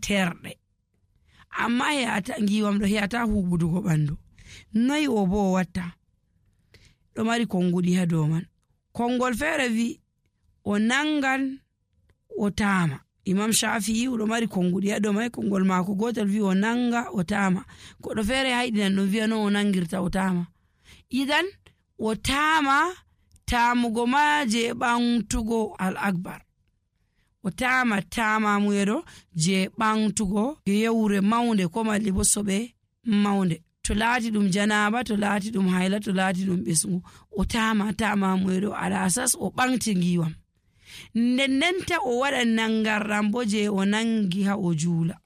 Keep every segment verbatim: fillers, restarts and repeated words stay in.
terɗe, amma he'ata ngiwam ɗo he'ata huɓudugo ɓandu. Noy o bo o watta? ɗo mari konguɗi ha dow man. Kongol feere wi o nangan o taama. Imam Shafi'i ɗo mari konguɗi ha dow mai. Kongol maako gotel wi o nanga o taama, goɗɗo feere hayɗinan ɗum wi'a no o nangirta o taama. Idan o taama taamugo ma je ɓantugo al akbar, o taama taamamuyeɗo je ɓantugo yewre maunde ko malli bo soɓe maunde. To laati ɗum janaba, to laati ɗum hayla, to laati ɗum ɓesgu, o taama taamamuyeɗo ala asas o ɓanti ngiwam. Nden ndenta o waɗa nangarɗam bo je o nangi ha o juula.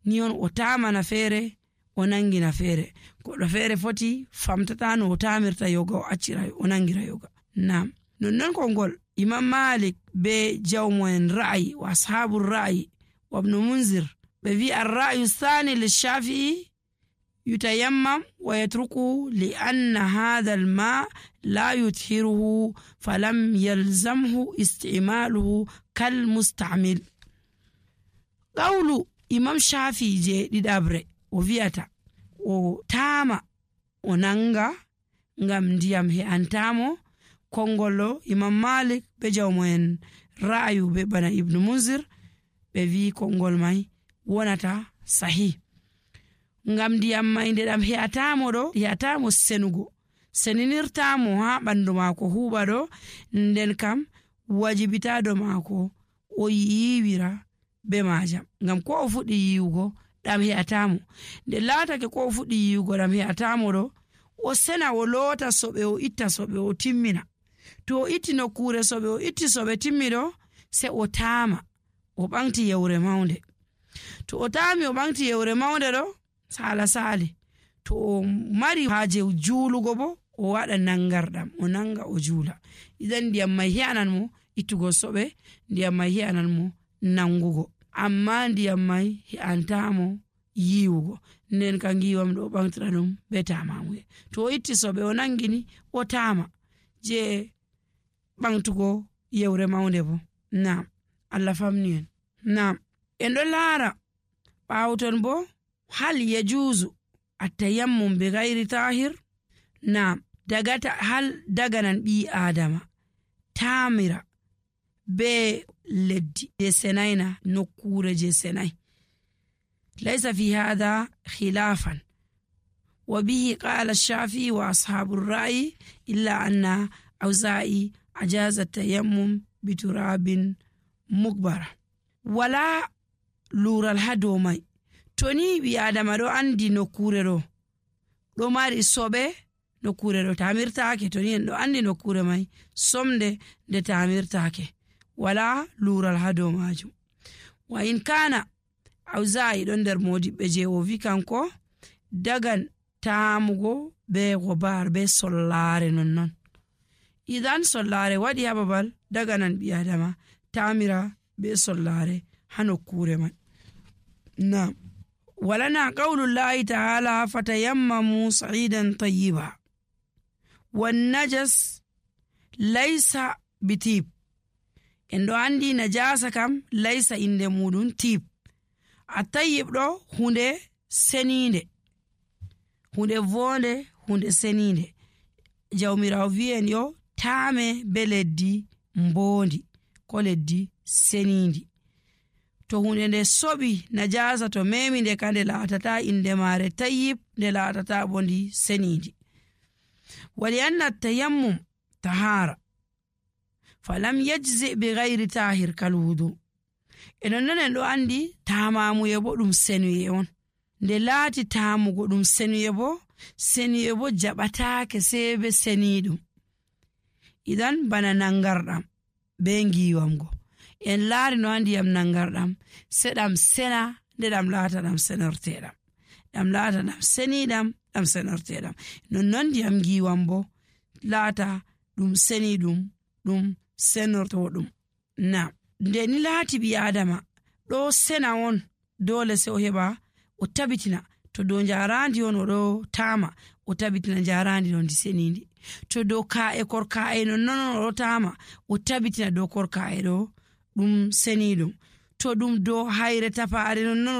Ni on o taamana feere o nangina feere. Goɗɗo feere foti famtata no o taamirta yoga o accira o nangira yoga. Naam. Nonnon kongol Imam Malik be jawmo'en ra'ayi wa ashabu ra'ayi wa ibn Munzir ɓe wi ar-ra'yu thani lish-Shafi'i yutayammam wa yatruku li anna hadha al-ma la yuthiruhu falam yalzamhu isti'maluhu kal musta'mil. Qawlu Imam Shafi'i je ɗiɗabre o wi'ata o taama o nanga ngam ndiyam he'antamo. Kongollo Imam Malik be jawmo'en ra'ayu be bana Ibn Munzir ɓe wi kongol mai wonata sahih. Ngam ndiyam mai nde ɗam he'atamo ɗo he'atamo senugo, seninirtamo ha ɓandu maako huɓa ɗo, nden kam wajibita do maako o yiiwira be majam. Ngam ko o fuɗɗi yiwugo ɗam he'atamo, nde laatake ko o fuɗɗi yiwugo ɗam he'atamo ɗo, o sena o loota soɓe o itta soɓe o timmina. To o itti nokkure soɓe o itti soɓe timmiɗo, se o taama o ɓanti yewre maunde. To o taami o ɓanti yewre maunde ɗo, sala sali. To o mari haaje juulugo bo o waɗa nangarɗam o nanga o juula. Idan ndiyam mai he'anan mo ittugo soɓe, ndiyam mai he'anan mo nangugo, amma ndiyam mai he'antamo yiwugo. Nden ka ngiwam ɗo ɓantira ɗum be taamamuye. To o itti soɓe o nangini o taama je ɓantugo yewre maunde bo. Naam, Allah famni en. Naam, en ɗo laara ɓawton bo hal yajuzu at-tayammum bi ghairi tahir. Naam, dagata hal daganan ɓi adama taamira be leddi je senaina nokkure je senai. laysa fi hadha khilafan wa bihi qala ash-Shafi'i wa ashabu ar-ra'yi illa anna Awza'i ajaza at-tayammum bi turabin mukbara. Wala lural hado mai. Toni bi adama do andi nokkure do do mari sobe, nokkure do tamirtaake. Toni en do andi nokkure mai somde de tamirtaake, wala lural hado majum. Wa in kana Awza'i don der modiɓɓe je o wi kanko dagan taamugo be gobar be sollare nonnon. Idan sollare waɗi ha babal daganan ɓi adama tamira be sollare ha nokkure man. Naam. Walana qawlullahi ta'ala fatayammamu sa'idan tayyiba wan najas laysa bitib. En do andi najasa kam laysa inde mudun tib. At-tayyib ɗo hunde seninde, hunde vonde, hunde seninde. Jawmirawo wi'en yo taame be leddi mbondi ko leddi senindi. To hunde nde soɓi najasa to memi nde ka nde laatata inde mare tayyib, nde laatata bondi senindi. Wali anna tayammum tahara falam yajzi bi ghairi tahir kal wudu. Enon non en ɗo andi taamamuye bo ɗum senuye on. Nde laati taamugo ɗum senuye bo, senuye bo jaɓataake sebe seniɗum. Idan bana nangarɗam be ngiwamgo en laari no andi yam nangarɗam se ɗam sena nde ɗam laata ɗam senorteɗam, ɗam laata ɗam seniɗam ɗam senorteɗam. Nonnon ndiyam ngiwam bo laata ɗum seniɗum ɗum senortoɗum. Naam. Nde ni laati ɓi adama ɗo sena on dole se o heɓa o tabitina to dow jarandi on o ɗo taama o tabitina jarandi ɗon di senindi. To dow ka'e korka'e nonnon o ɗo taama o tabitina dow korka'e ɗo ɗum seniɗum. To ɗum dow hayre tapaare nonnon